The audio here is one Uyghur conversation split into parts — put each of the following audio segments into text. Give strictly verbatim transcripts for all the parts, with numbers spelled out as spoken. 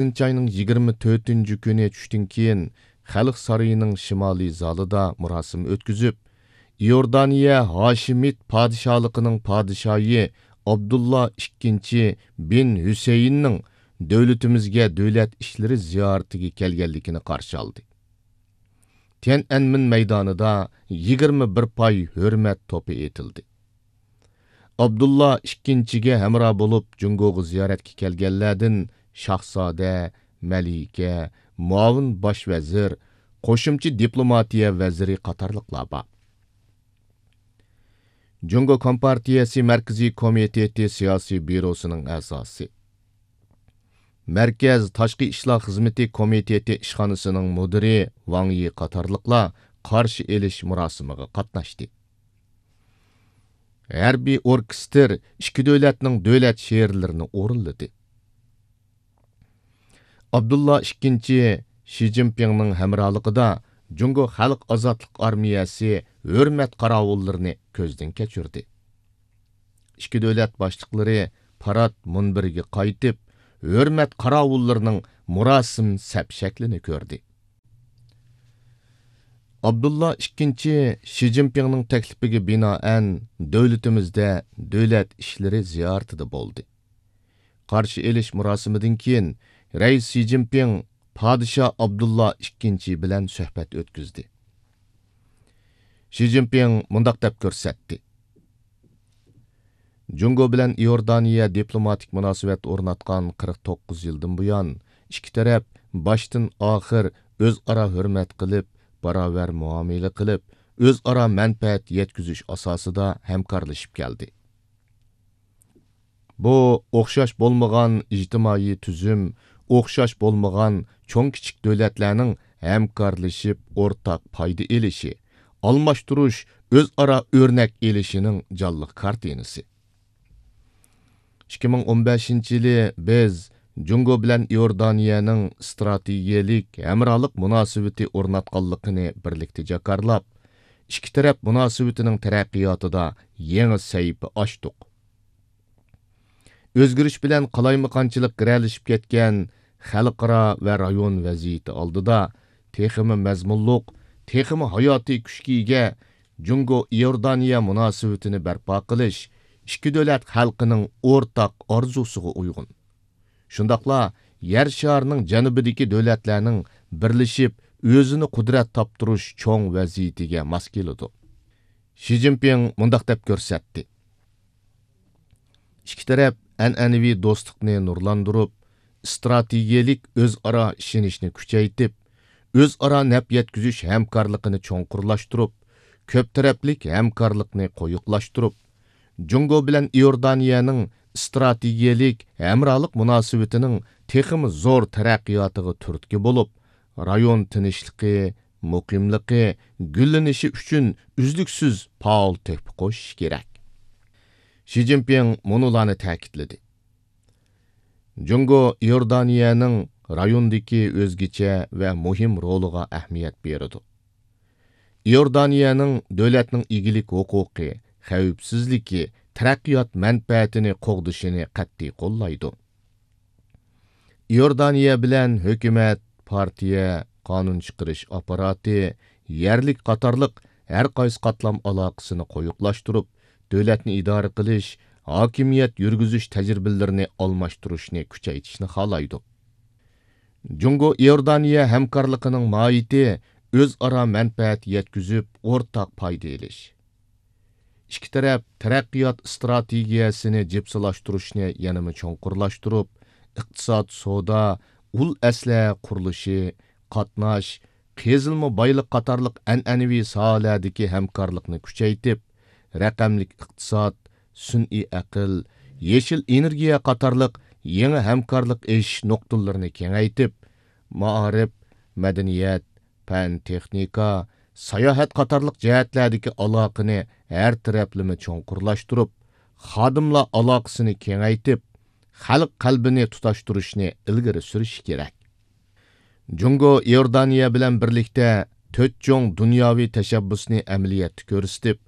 ئالتىنچى ئاينىڭ يىگىرمە تۆتىنچى كۈنى چۈشتىن كېيىن، خەلق سارىيىنىڭ شىمالىي زالىدا مۇراسىم ئۆتكۈزۈپ، ئىئوردانىيە ھاشىمىت پادىشاھلىقىنىڭ پادىشاھى ئابدۇللا ئىككىنچى بىن ھۈسەيىننىڭ دۆلىتىمىزگە دۆلەت ئىشلىرى زىيارىتىگە كەلگەنلىكىنى قارشى ئالدى. تيەنئەنمېن مەيدانىدا يىگىرمە بىر پاي ھۆرمەت توپى ئېتىلدى. ئابدۇللا ئىككىنچىگە ھەمراھ بولۇپ جۇڭگوغا زىيارەتكە كەلگەنلەردىن شاھزادە، مەلىكە، مۇئاۋىن باش ۋەزىر، قوشۇمچە دىپلوماتىيە ۋەزىرى قاتارلىقلار بار. جۇڭگو كومپارتىيەسى مەركىزىي كومىتېتى سىياسىي بيۇروسىنىڭ ئەزاسى، مەركەز تاشقى ئىشلار خىزمىتى كومىتېتى ئىشخانىسىنىڭ مۇدىرى ۋاڭ يى قاتارلىقلار قارشى ئېلىش مۇراسىمىغا قاتناشتى. ھەربىي ئوركېستىر ئىككى دۆلەتنىڭ دۆلەت شېئىرلىرىنى ئورۇنلىدى. ئابدۇللا ئىككىنچى شى جىنپىڭنىڭ ھەمراھلىقىدا جۇڭگو خەلق ئازادلىق ئارمىيەسى ھۆرمەت قاراۋۇللىرىنى كۆزدىن كەچۈردى. ئىككى دۆلەت باشلىقلىرى پارات مۇنبىرىگە قايتىپ، ھۆرمەت قاراۋۇللىرىنىڭ مۇراسىم سەپ شەكلىنى كۆردى. ئابدۇللا ئىككىنچى شى جىنپىڭنىڭ تەكلىپىگە بىنائەن، دۆلىتىمىزدە دۆلەت ئىشلىرى زىيارىتىدە بولدى. قارشى ئېلىش مۇراسىمىدىن كېيىن، رەئىس شى جىنپىڭ پادىشاھ ئابدۇللا ئىككىنچى بىلەن سۆھبەت ئۆتكۈزدى. شى جىنپىڭ مۇنداق دەپ كۆرسەتتى: جۇڭگو بىلەن ئىئوردانىيە دىپلوماتىك مۇناسىۋەت ئورناتقان قىرىق توققۇز يىلدىن بۇيان، ئىككى تەرەپ باشتىن ئاخىر ئۆزئارا ھۆرمەت قىلىپ، باراۋەر مۇئامىلە قىلىپ، ئۆزئارا مەنپەئەت يەتكۈزۈش ئاساسىدا ھەمكارلىشىپ كەلدى. بۇ ئوخشاش بولمىغان ئىجتىمائىي تۈزۈم، ئوخشاش بولمىغان چوڭ-كىچىك دۆلەتلەرنىڭ ھەمكارلىشىپ ئورتاق پايدا ئېلىشى، ئالماشتۇرۇش، ئۆزئارا ئۆرنەك ئېلىشىنىڭ جانلىق كارتىنىسى. ئىككى مىڭ ئون بەشىنچى يىلى بىز جۇڭگو بىلەن ئىئوردانىيەنىڭ ئىستراتېگىيەلىك ھەمراھلىق مۇناسىۋىتى ئورناتقانلىقىنى بىرلىكتە جاكارلاپ، ئىككى تەرەپ مۇناسىۋىتىنىڭ تەرەققىياتىدا يېڭى سەھىپە ئاچتۇق. ئۆزگىرىش بىلەن قالايمىقانچىلىق گىرەلىشىپ كەتكەن خەلقئارا ۋە رايون ۋەزىيىتى ئالدىدا تېخىمۇ مەزمۇنلۇق، تېخىمۇ ھاياتىي كۈچكە ئىگە جۇڭگو ئىئوردانىيە مۇناسىۋىتىنى بەرپا قىلىش ئىككى دۆلەت خەلقىنىڭ ئورتاق ئارزۇسىغا ئۇيغۇن. شۇنداقلا يەر شارىنىڭ جەنۇبىدىكى دۆلەتلەرنىڭ بىرلىشىپ ئۆزىنى قۇدرەت تاپتۇرۇش چوڭ ۋەزىيىتىگە ماس كېلىدۇ. شى جىنپىڭ مۇنداق دەپ كۆرسەتتى: ئىككى تەرەپ ئەنئەنىۋى دوستلۇقنى نۇرلاندۇرۇپ، ئىستراتېگىيەلىك ئۆزئارا ئىشىنىشنى كۈچەيتىپ، ئۆزئارا نەپ يەتكۈزۈش ھەمكارلىقىنى چوڭقۇرلاشتۇرۇپ، كۆپ تەرەپلىك ھەمكارلىقنى قويۇقلاشتۇرۇپ، جۇڭگو بىلەن ئىئوردانىيەنىڭ ئىستراتېگىيەلىك ھەمراھلىق مۇناسىۋىتىنىڭ تېخىمۇ زور تەرەققىياتىغا تۈرتكە بولۇپ، رايون تىنچلىقى، مۇقىملىقى، گۈللىنىشى ئۈچۈن ئۈزلۈكسىز پائال تۆھپە قوشۇش كېرەك. شى جىنپىڭ مۇنۇلارنى تەكىتلىدى: جۇڭگو ئىئوردانىيەنىڭ رايوندىكى ئۆزگىچە ۋە مۇھىم رولىغا ئەھمىيەت بېرىدۇ. ئىئوردانىيەنىڭ دۆلەتنىڭ ئىگىلىك ھوقۇقى، خەۋپسىزلىكى، تەرەققىيات مەنپەئەتىنى قوغدىشىنى قەتئىي قوللايدۇ. ئىئوردانىيە بىلەن ھۆكۈمەت، پارتىيە، قانۇن چىقىرىش ئاپپاراتى، يەرلىك قاتارلىق ھەر قايسى قاتلام ئالاقىسىنى قويۇقلاشتۇرۇپ، دۆلەتنى ئىدارە قىلىش، ھاكىمىيەت يۈرگۈزۈش تەجرىبىلىرىنى ئالماشتۇرۇشنى كۈچەيتىشنى خالايدۇ. جۇڭگو ئىئوردانىيە ھەمكارلىقىنىڭ ماھىيىتى ئۆزئارا مەنپەئەت يەتكۈزۈپ، ئورتاق پايدا ئېلىش. ئىككى تەرەپ تەرەققىيات ئىستراتېگىيەسىنى جىپسىلاشتۇرۇشنى يەنىمۇ چوڭقۇرلاشتۇرۇپ، ئىقتىساد، سودا، ئۇل ئەسلىھە قۇرۇلۇشى، قاتناش، قېزىلما بايلىق قاتارلىق ئەنئەنىۋى ساھەلەردىكى ھەمكارلىقنى كۈچەيتىپ، رەقەملىك ئىقتىساد، سۈنئىي ئەقىل، يېشىل ئېنېرگىيە قاتارلىق يېڭى ھەمكارلىق ئېشىش نۇقتىلىرىنى كېڭەيتىپ، مائارىپ، مەدەنىيەت، پەن، تېخنىكا، ساياھەت قاتارلىق جەھەتلەردىكى ئالاقىنى ھەر تەرەپلىمە چوڭقۇرلاشتۇرۇپ، خادىملار ئالاقىسىنى كېڭەيتىپ، خەلق قەلبىنى تۇتاشتۇرۇشنى ئىلگىرى سۈرۈشى كېرەك. جۇڭگو ئىئوردانىيە بىلەن بىرلىكتە تۆت چوڭ دۇنياۋى تەشەببۇسنى ئەمەلىيەتتە كۆرسىتىپ،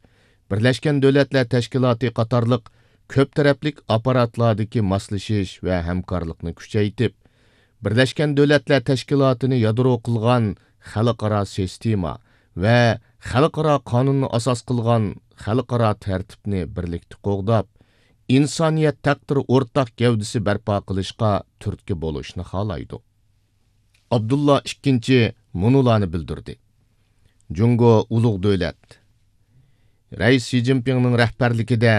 بىرلەشكەن دۆلەتلەر تەشكىلاتى قاتارلىق كۆپ تەرەپلىك ئاپپاراتلاردىكى ماسلىشىش ۋە ھەمكارلىقنى كۈچەيتىپ، بىرلەشكەن دۆلەتلەر تەشكىلاتىنى يادرو قىلغان خەلقئارا سىستېما ۋە خەلقئارا قانۇننى ئاساس قىلغان خەلقئارا تەرتىپنى بىرلىكتە قوغداپ، ئىنسانىيەت تەقدىرى ئورتاق گەۋدىسى بەرپا قىلىشقا تۈرتكە بولۇشنى خالايدۇ. ئابدۇللا ئىككىنچى مۇنۇلارنى بىلدۈردى: جۇڭگو ئۇلۇغ دۆلەت. رەئىس شى جىنپىڭنىڭ رەھبەرلىكىدە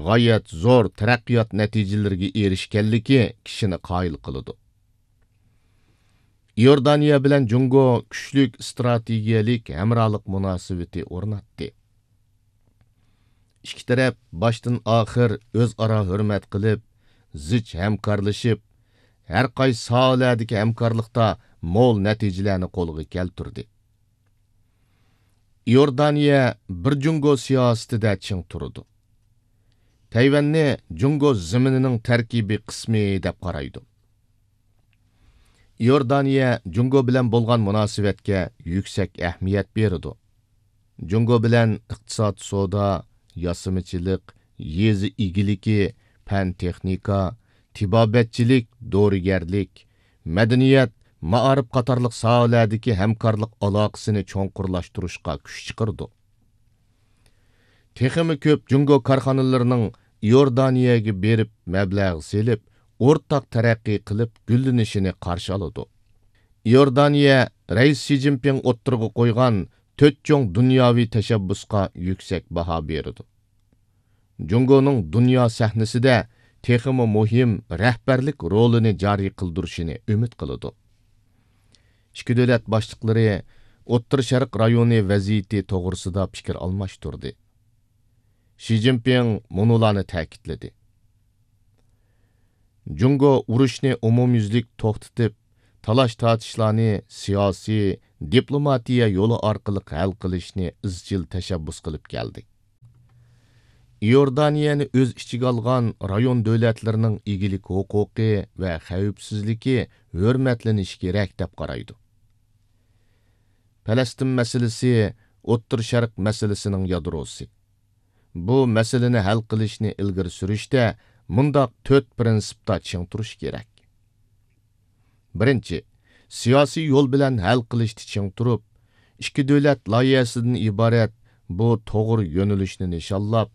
غايەت زور تەرەققىيات نەتىجىلىرىگە ئېرىشكەنلىكى كىشىنى قايىل قىلىدۇ. ئىئوردانىيە بىلەن جۇڭگو كۈچلۈك ئىستراتېگىيەلىك ھەمراھلىق مۇناسىۋىتى ئورناتتى. ئىككى تەرەپ باشتىن ئاخىر ئۆزئارا ھۆرمەت قىلىپ، زىچ ھەمكارلىشىپ، ھەر قايسى ساھەلەردىكى ھەمكارلىقتا مول نەتىجىلەرنى قولغا كەلتۈردى. ئىئوردانىيە بىر جۇڭگو سىياسىتىدە چىڭ تۇرىدۇ. تەيۋەننى جۇڭگو زېمىنىنىڭ تەركىبىي قىسمى دەپ قارايدۇ. ئىئوردانىيە جۇڭگو بىلەن بولغان مۇناسىۋەتكە يۈكسەك ئەھمىيەت بېرىدۇ. جۇڭگو بىلەن ئىقتىساد، سودا، ياسىمىچىلىق، يېزا ئىگىلىكى، پەن-تېخنىكا، تېبابەتچىلىك، دورىگەرلىك، مەدەنىيەت، مائارىپ قاتارلىق ساھەلەردىكى ھەمكارلىق ئالاقىسىنى چوڭقۇرلاشتۇرۇشقا كۈچ چىقىرىدۇ. تېخىمۇ كۆپ جۇڭگو كارخانىلىرىنىڭ ئىئوردانىيەگە بېرىپ مەبلەغ سېلىپ، ئورتاق تەرەققىي قىلىپ گۈللىنىشىنى قارشى ئالىدۇ. ئىئوردانىيە رەئىس شى جىنپىڭ ئوتتۇرىغا قويغان تۆت چوڭ دۇنياۋى تەشەببۇسقا يۈكسەك باھا بېرىدۇ. جۇڭگونىڭ دۇنيا سەھنىسىدە تېخىمۇ مۇھىم رەھبەرلىك رولىنى جارى قىلدۇرۇشىنى ئۈمىد قىلىدۇ. ئىككى دۆلەت باشلىقلىرى ئوتتۇرا شەرق رايونى ۋەزىيىتى توغرىسىدا پىكىر ئالماشتۇردى. شى جىنپىڭ مۇنۇلارنى تەكىتلىدى: جۇڭگو ئۇرۇشنى ئومۇميۈزلۈك توختىتىپ، تالاش-تارتىشلارنى سىياسىي، دىپلوماتىيە يولى ئارقىلىق ھەل قىلىشنى ئىزچىل تەشەببۇس قىلىپ كەلدى. ئىئوردانىيەنى ئۆز ئىچىگە ئالغان رايون دۆلەتلىرىنىڭ ئىگىلىك ھوقۇقى ۋە خەۋپسىزلىكى ھۆرمەتلىنىشى كېرەك دەپ قارايدۇ. پەلەستىن مەسىلىسى ئوتتۇرا شەرق مەسىلىسىنىڭ يادروسى. بۇ مەسىلىنى ھەل قىلىشنى ئىلگىرى سۈرۈشتە مۇنداق تۆت پىرىنسىپتا چىڭ تۇرۇش كېرەك. بىرىنچى، سىياسىي يول بىلەن ھەل قىلىشتا چىڭ تۇرۇپ، ئىككى دۆلەت لايىھەسىدىن ئىبارەت بۇ توغرا يۆنىلىشنى نىشانلاپ،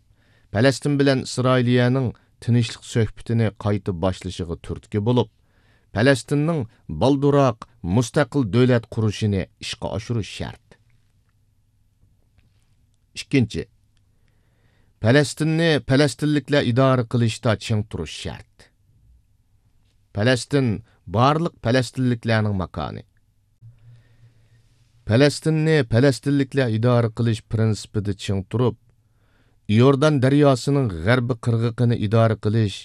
پەلەستىن بىلەن ئىسرائىلىيەنىڭ تىنچلىق سۆھبىتىنى قايتا باشلىشىغا تۈرتكە بولۇپ، پەلەستىننىڭ بالدۇرراق مۇستەقىل دۆلەت قۇرۇشىنى ئىشقا ئاشۇرۇش شەرت. ئىككىنچى، پەلەستىننى پەلەستىنلىكلەر ئىدارە قىلىشتا چىڭ تۇرۇش شەرت. پەلەستىن بارلىق پەلەستىنلىكلەرنىڭ ماكانى. پەلەستىننى پەلەستىنلىكلەر ئىدارە قىلىش پىرىنسىپىدا چىڭ تۇرۇپ، ئىئوردان دەرياسىنىڭ غەربىي قىرغىقىنى ئىدارە قىلىش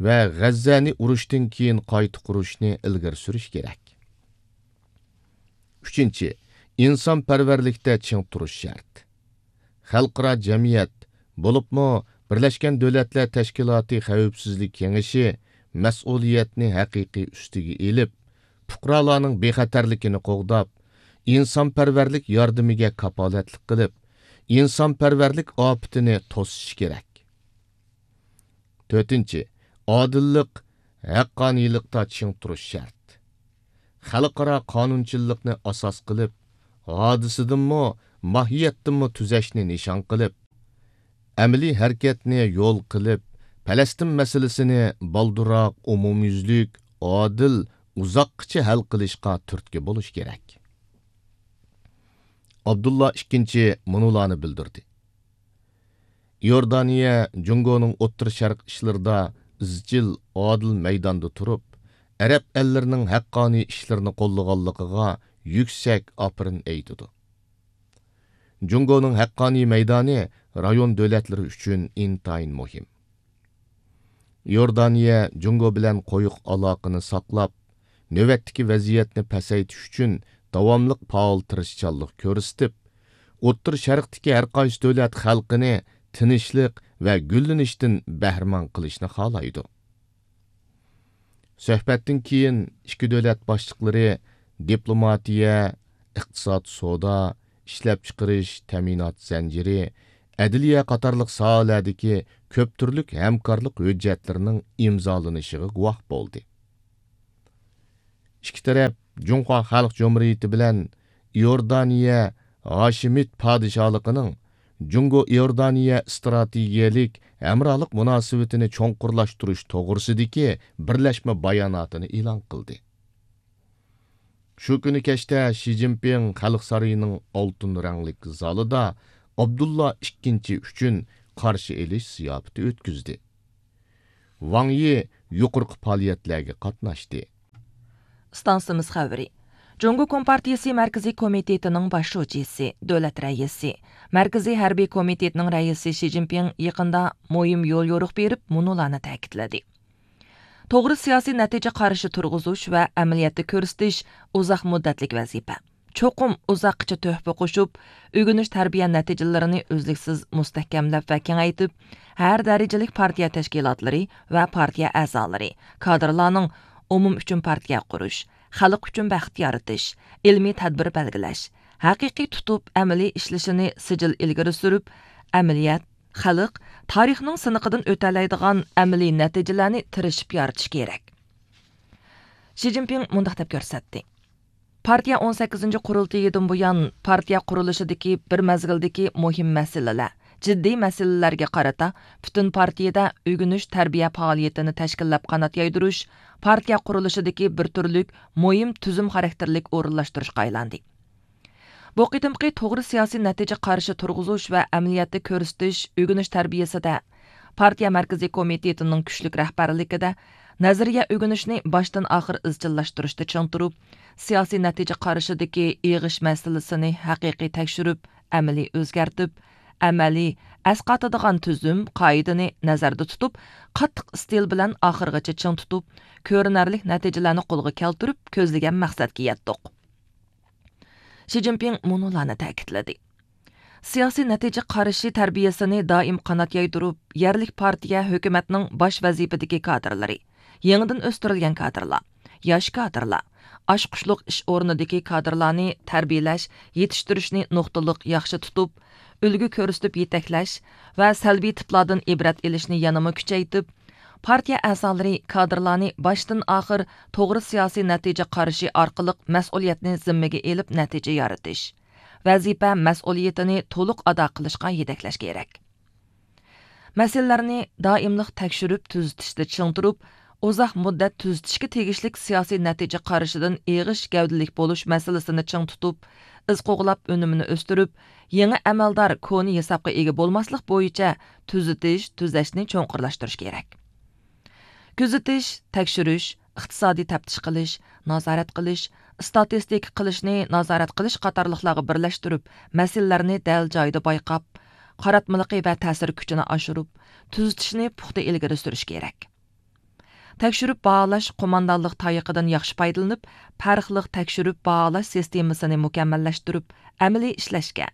ۋە غەززەنى ئۇرۇشتىن كېيىن قايتا قۇرۇشنى ئىلگىرى سۈرۈش كېرەك. ئۈچىنچى، ئىنسانپەرۋەرلىكتە چىڭ تۇرۇش شەرت. خەلقئارا جەمئىيەت، بولۇپمۇ بىرلەشكەن دۆلەتلەر تەشكىلاتى خەۋپسىزلىك كېڭىشى مەسئۇلىيەتنى ھەقىقىي ئۈستىگە ئېلىپ، پۇقرالارنىڭ بىخەتەرلىكىنى قوغداپ، ئىنسانپەرۋەرلىك ياردىمىگە كاپالەتلىك قىلىپ، ئىنسانپەرۋەرلىك ئاپىتىنى توسۇشى كېرەك. تۆتىنچى، ئادىللىق، ھەققانىيلىقتا چىڭ تۇرۇش شەرت. خەلقئارا قانۇنچىللىقنى ئاساس قىلىپ، ھادىسىدىنمۇ، ماھىيەتتىنمۇ تۈزەشنى نىشان قىلىپ، ئەمەلىي ھەرىكەتنى يول قىلىپ، پەلەستىن مەسىلىسىنى بالدۇرراق ئومۇميۈزلۈك، ئادىل، ئۇزاققىچە ھەل قىلىشقا تۈرتكە بولۇش كېرەك. ئابدۇللا ئىككىنچى مۇنۇلارنى بىلدۈردى: ئىئوردانىيە جۇڭگونىڭ ئوتتۇرا شەرق ئىشلىرىدا ئىزچىل، ئادىل مەيداندا تۇرۇپ، ئەرەب ئەللىرىنىڭ ھەققانىي ئىشلىرىنى قوللىغانلىقىغا يۈكسەك ئاپىرىن ئېيتىدۇ. جۇڭگونىڭ ھەققانىي مەيدانى رايون دۆلەتلىرى ئۈچۈن ئىنتايىن مۇھىم. ئىئوردانىيە جۇڭگو بىلەن قويۇق ئالاقىنى ساقلاپ، نۆۋەتتىكى ۋەزىيەتنى پەسەيتىش ئۈچۈن داۋاملىق پائال تىرىشچانلىق كۆرسىتىپ، ئوتتۇرا شەرقتىكى ھەرقايسى دۆلەت خەلقىنى تىنچلىق ۋە گۈللىنىشتىن بەھرىمەن قىلىشنى خالايدۇ. سۆھبەتتىن كېيىن ئىككى دۆلەت باشلىقلىرى دىپلوماتىيە، ئىقتىساد، سودا، ئىشلەپچىقىرىش، تەمىنات زەنجىرى، ئەدلىيە قاتارلىق ساھەلەردىكى كۆپ تۈرلۈك ھەمكارلىق ھۆججەتلىرىنىڭ ئىمزالىنىشىغا گۇۋاھ بولدى. ئىككى تەرەپ جۇڭخۇا خەلق جۇمھۇرىيىتى بىلەن ئىئوردانىيە ھاشىمىت پادىشاھلىقىنىڭ جۇڭگو ئىئوردانىيە ئىستراتېگىيەلىك ھەمراھلىق مۇناسىۋىتىنى چوڭقۇرلاشتۇرۇش توغرىسىدىكى بىرلەشمە باياناتىنى ئېلان قىلدى. شۇ كۈنى كەچتە شى جىنپىڭ خەلق سارىيىنىڭ ئالتۇن رەڭلىك زالىدا ئابدۇللا ئىككىنچى ئۈچۈن قارشى ئېلىش زىياپىتى ئۆتكۈزدى. ۋاڭ يى يۇقىرىقى پائالىيەتلەرگە قاتناشتى. ئىستانسىمىز خەۋىرى. جۇڭگو كومپارتىيىسى مەركىزىي كومىتېتىنىڭ باش شۇجىسى، دۆلەت رەئىسى، مەركىزىي ھەربىي كومىتېتنىڭ رەئىسى شى جىنپىڭ يېقىندا مۇھىم يول يورۇق بېرىپ، مۇنۇلارنى تەكىتلىدى. توغرا سىياسىي نەتىجە قارىشى تۇرغۇزۇش ۋە ئەمەلىيەتتە كۆرسىتىش ئۇزاق مۇددەتلىك ۋەزىپە. چوقۇم ئۇزاققىچە تۆھپە قوشۇپ، ئۆگىنىش تەربىيە نەتىجىلىرىنى ئۈزلۈكسىز مۇستەھكەملەپ ۋە كېڭەيتىپ، ھەر دەرىجىلىك پارتىيە تەشكىلاتلىرى ۋە پارتىيە ئەزالىرى، كادىرلارنىڭ ئومۇم ئۈچۈن پارتىيە قۇرۇش، خەلق ئۈچۈن بەخت يارىتىش، ئىلمىي تەدبىر بەلگىلەش، ھەقىقىي تۇتۇپ ئەمەلىي ئىشلىشىنى سىجىل ئىلگىرى سۈرۈپ، ئەمەلىيەت، خەلق، تارىخنىڭ سىنىقىدىن ئۆتەلەيدىغان ئەمەلىي نەتىجىلەرنى تىرىشىپ يارىتىش كېرەك. شى جىنپىڭ مۇنداق دەپ كۆرسەتتى. پارتىيە ئون سەككىزىنچى قۇرۇلتىيىدىن بۇيان، پارتىيە قۇرۇلۇشىدىكى بىر مەزگىلدىكى مۇھىم مەسىلىلەر، جىددىي مەسىلىلەرگە قارىتا، پۈتۈن پارتىيىدە ئۆگىنىش تەربىيە پائالىيىتىنى تەشكىللەپ قانات يايدۇرۇش، پارتىيە قۇرۇلۇشىدىكى بىر تۈرلۈك مۇھىم تۈزۈم خاراكتېرلىك ئورۇنلاشتۇرۇشقا ئايلاندى. بۇ قېتىمقى توغرا سىياسىي نەتىجە قارىشى تۇرغۇزۇش ۋە ئەمەلىيەتتە كۆرسىتىش ئۆگىنىش تەربىيەسىدە، پارتىيە مەركىزىي كومىتېتىنىڭ كۈچلۈك رەھبەرلىكىدە، نەزەرىيە ئۆگىنىشنى باشتىن ئاخىر ئىزچىللاشتۇرۇشتا چىڭ تۇرۇپ، سىياسىي نەتىجە قارىشىدىكى ئېغىش مەسىلىسىنى ھەقىقىي تەكشۈرۈپ، ئەمەلىي ئۆزگەرتىپ، ئەمەلىي، ئەسقاتىدىغان تۈزۈم، قائىدىنى نەزەردە تۇتۇپ، قاتتىق ئىستىل بىلەن ئاخىرغىچە چىڭ تۇتۇپ، كۆرۈنەرلىك نەتىجىلەرنى قولغا كەلتۈرۈپ، كۆزلىگەن مەقسەتكە يەتتۇق. شى جىنپىڭ مۇنۇلارنى تەكىتلىدى. سىياسىي نەتىجە قارىشى تەربىيەسىنى دائىم قانات يايدۇرۇپ، يەرلىك پارتىيە، ھۆكۈمەتنىڭ باش ۋەزىپىدىكى كادىرلىرى، يېڭىدىن ئۆستۈرۈلگەن كادىرلار، ياش كادىرلار، ئاچقۇچلۇق ئىش ئورنىدىكى كادىرلارنى تەربىيەلەش، يېتىشتۈرۈشنى نۇقتىلىق ياخشى تۇتۇپ، ئۈلگە كۆرسىتىپ يېتەكلەش ۋە سەلبىي تىپلاردىن ئىبرەت ئېلىشنى يەنىمۇ كۈچەيتىپ، پارتىيە ئەزالىرى، كادىرلارنى باشتىن ئاخىر توغرا سىياسىي نەتىجە قارىشى ئارقىلىق مەسئۇلىيەتنى زىممىگە ئېلىپ نەتىجە يارىتىش، ۋەزىپە مەسئۇلىيىتىنى تولۇق ئادا قىلىشقا يېتەكلەش كېرەك. مەسىلىلەرنى دائىملىق تەكشۈرۈپ تۈزىتىشتە چىڭ تۇرۇپ، ئۇزاق مۇددەت تۈزىتىشكە تېگىشلىك سىياسىي نەتىجە قارىشىدىن ئېغىش گەۋدىلىك بولۇش مەسىلىسىنى چىڭ تۇتۇپ، ئىز قوغلاپ ئۈنۈمىنى ئۆستۈرۈپ، يېڭى ئەمەلدار كونا ھېسابقا ئىگە بولماسلىق بويىچە تۈزىتىش، تۈزەشنى چوڭقۇرلاشتۇرۇش كېرەك. كۆزىتىش، تەكشۈرۈش، ئىقتىسادىي تەپتىش قىلىش، نازارەت قىلىش، ئىستاتىستىكا قىلىشنى نازارەت قىلىش قاتارلىقلارغا بىرلەشتۈرۈپ، مەسىلىلەرنى دەل جايىدا بايقاپ، قاراتمىلىقى ۋە تەسىر كۈچىنى ئاشۇرۇپ، تۈزىتىشنى پۇختا ئىلگىرى سۈرۈش كېرەك. تەكشۈرۈپ باھالاش قوماندانلىق تايىقىدىن ياخشى پايدىلىنىپ، پەرقلىق تەكشۈرۈپ باھالاش سىستېمىسىنى مۇكەممەللەشتۈرۈپ، ئەمەلىي ئىشلەشكە،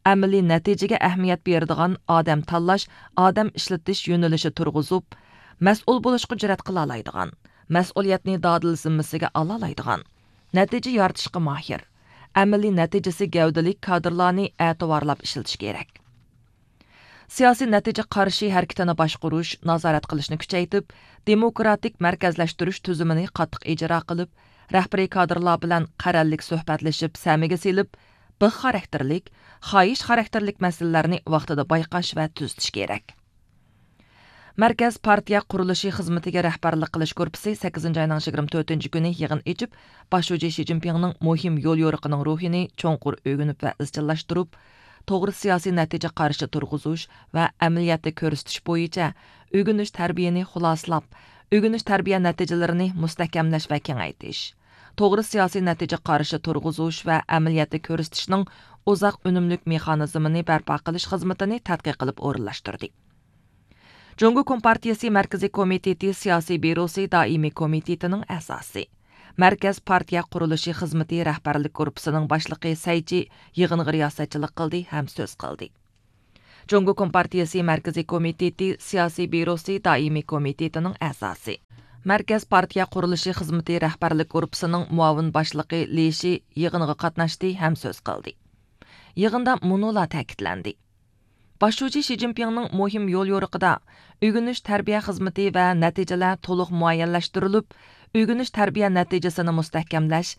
ئەمەلىي نەتىجىگە ئەھمىيەت بېرىدىغان ئادەم تاللاش، ئادەم ئىشلىتىش يۆنىلىشى تۇرغۇزۇپ، مەسئۇل بولۇشقا جۈرئەت قىلالايدىغان، مەسئۇلىيەتنى دادىل زىممىسىگە ئالالايدىغان، نەتىجە يارىتىشقا ماھىر، ئەمەلىي نەتىجىسى گەۋدىلىك كادىرلارنى ئەتىۋارلاپ ئىشلىتىش كېرەك. سىياسىي نەتىجە قارىشى ھەرىكىتىنى باشقۇرۇش، نازارەت قىلىشنى كۈچەيتىپ، دېموكراتىك مەركەزلەشتۈرۈش تۈزۈمىنى قاتتىق ئىجرا قىلىپ، رەھبىرىي كادىرلار بىلەن قەرەللىك سۆھبەتلىشىپ سەمىگە سېلىپ، بىخ خاراكتېرلىك، خاھىش خاراكتېرلىك مەسىلىلەرنى ۋاقتىدا بايقاش ۋە تۈزىتىش كېرەك. مەركەز پارتىيە قۇرۇلۇشى خىزمىتىگە رەھبەرلىك قىلىش گۇرۇپپىسى سەككىزىنچى ئاينىڭ يىگىرمە تۆتىنچى كۈنى يىغىن ئېچىپ، باش شۇجى شى جىنپىڭنىڭ مۇھىم يول يورۇقىنىڭ روھىنى چوڭقۇر ئۆگىنىپ ۋە ئىزچىللاشتۇرۇپ، توغرا سىياسىي نەتىجە قارىشى تۇرغۇزۇش ۋە ئەمەلىيەتتە كۆرسىتىش بويىچە ئۆگىنىش تەربىيەنى خۇلاسىلاپ، ئۆگىنىش تەربىيە نەتىجىلىرىنى مۇستەھكەملەش ۋە كېڭەيتىش، توغرا سىياسىي نەتىجە قارىشى تۇرغۇزۇش ۋە ئەمەلىيەتتە كۆرسىتىشنىڭ ئۇزاق ئۈنۈملۈك مېخانىزمىنى بەرپا قىلىش خىزمىتىنى تەتقىق قىلىپ ئورۇنلاشتۇردى. جۇڭگو كومپارتىيىسى مەركىزىي كومىتېتى سىياسىي بيۇروسى دائىمىي كومىتېتىنىڭ ئەزاسى، مەركەز پارتىيە قۇرۇلۇشى خىزمىتى رەھبەرلىك گۇرۇپپىسىنىڭ باشلىقى سەي چى يىغىنغا رىياسەتچىلىك قىلدى ھەم سۆز قىلدى. جۇڭگو كومپارتىيىسى مەركىزىي كومىتېتى سىياسىي بيۇروسى دائىمىي كومىتېتىنىڭ ئەزاسى، مەركەز پارتىيە قۇرۇلۇشى خىزمىتى رەھبەرلىك گۇرۇپپىسىنىڭ مۇئاۋىن باشلىقى لى شى يىغىنغا قاتناشتى ھەم سۆز قىلدى. يىغىندا مۇنۇلار تەكىتلەندى. باش شۇجى شى جىنپىڭنىڭ مۇھىم يول يورۇقىدا ئۆگىنىش تەربىيە خىزمىتى ۋە نەتىجىلەر تولۇق مۇئەييەنلەشتۈرۈلۈپ، ئۆگىنىش تەربىيە نەتىجىسىنى مۇستەھكەملەش،